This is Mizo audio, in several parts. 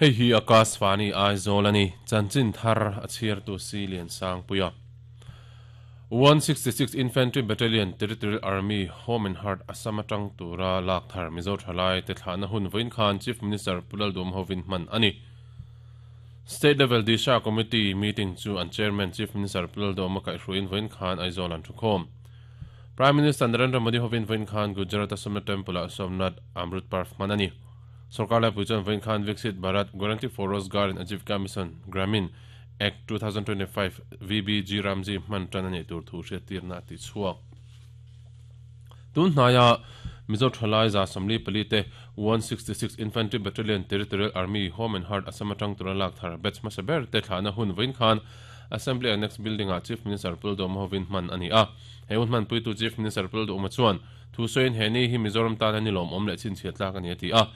Hei hi Akashvani Aizawl a ni, chanchin thar a chhiartu Si Liansangpuia. 166 Infantry Battalion Territorial Army Home and Heart Assam atang tura lak thar Mizo thalai te thlahna hun vawiin khan Chief Minister Pu Lalduhawm hovin hman a ni. State Level Disha Committee meeting chu an Chairman Chief Minister Pu Lalduhawma kaihhruaiin vawiin khan Aizawl an thukhawm. Prime Minister Narendra Modi hovin vawiin khan Gujarat-a Somnath Temple-ah Somnath Amrut Parv hman a ni. Sorkar laipui chuan vawiin khan Viksit Bharat Guarantee for Rozgar and Ajivika Mission, Gramin, Act, 2025, VBG Ramji hman tan a nih tur thu hriattirna a ti chhuak. Tun hnaia Mizo thalai 44 te 166 Infantry Battalion Territorial Army Home and Heart Assam atang tura lak thar batch hmasa ber te thlahna hun vawiin khan Assembly Annex Building-ah Chief Minister Pu Lalduhoma hovin hman a ni a. He hun hmanpuitu Chief Minister Pu Lalduhoma chuan Thu sawiin he ni hi Mizoram tana ni lawmawm leh chhinchhiat tlak a ni a ti a.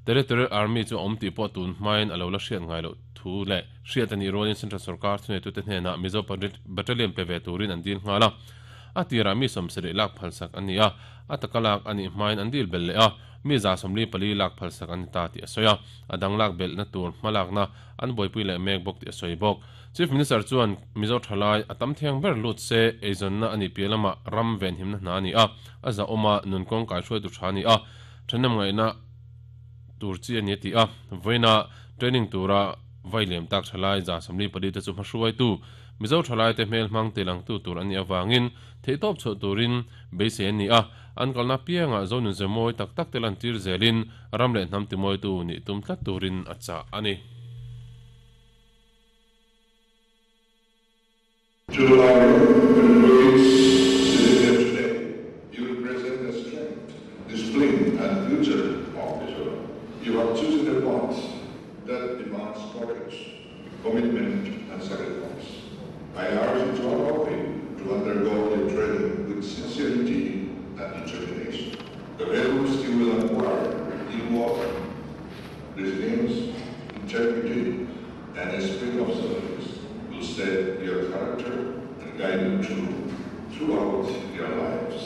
Territorial Army chu a awm tih pawh tun hmain a lo la hriat ngai loh thu leh hriat a nih rualin Central Sorkar thuneitute hnenah Mizo Battalion pe ve turin an dil nghal a. A tirah mi 70 lak phalsak an ni a, a taka lak a nih hmain an dil belh leh a, mi 44 lak phalsak an ni ta tih a sawi a. A dang lak belhna tur hmalakna an buaipui leh mek bawk tih a sawi bawk. Chief Minister chuan Mizo thalai a tam thiang ber lut se eizawnna a nih piah lamah ram venhimna hna a ni a, a zahawm a, nun kawng kaihruaitu tha a ni a, thahnem ngaihna tur chi a ni a ti a. Vawiina training tura vai liam tak thalai 44 te chu hmahruaitu Mizo thalaite hmel hmang tilangtu tur an nih avangin theihtawp chhuah turin beisei an ni a, an kalna piangah Zonunze mawi tak tak te lantir zelin ram leh hnam timawitu nih tum tlat turin a chah a ni. To our employees sitting here today, you represent the strength, discipline and future of Mizoram. You have chosen a path that demands courage, commitment and sacrifice. I urge each one of you to undergo your training with sincerity and determination. The values you will acquire in work, resilience, integrity, and a spirit of service will set your character and guide you through throughout your lives.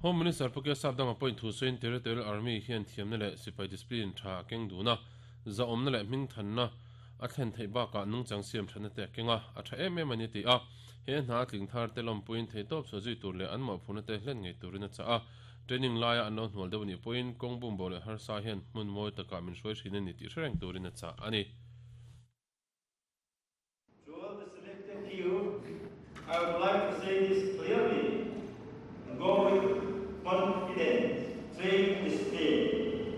Home Minister Pu Kesap danga pawhin thu sawiin Territorial Army hian thiamna leh sipai discipline tha a keng dun a, zahawmna leh hmingthanna a thlen theih bakah nungchang siam thatna te a keng a, a tha em em a ni ti a, he hna a tling thar te lawmpuiin theihtawp chhuah zui tur leh an mawhphurhna te hlen ngei turin a chah a. Training laia an lo hnual deuh anih pawhin kawng bum bo leh harsa hian hmun mawi takah min hruai thin a ni tih hre reng turin a chah a ni. To all the selected few, I would like.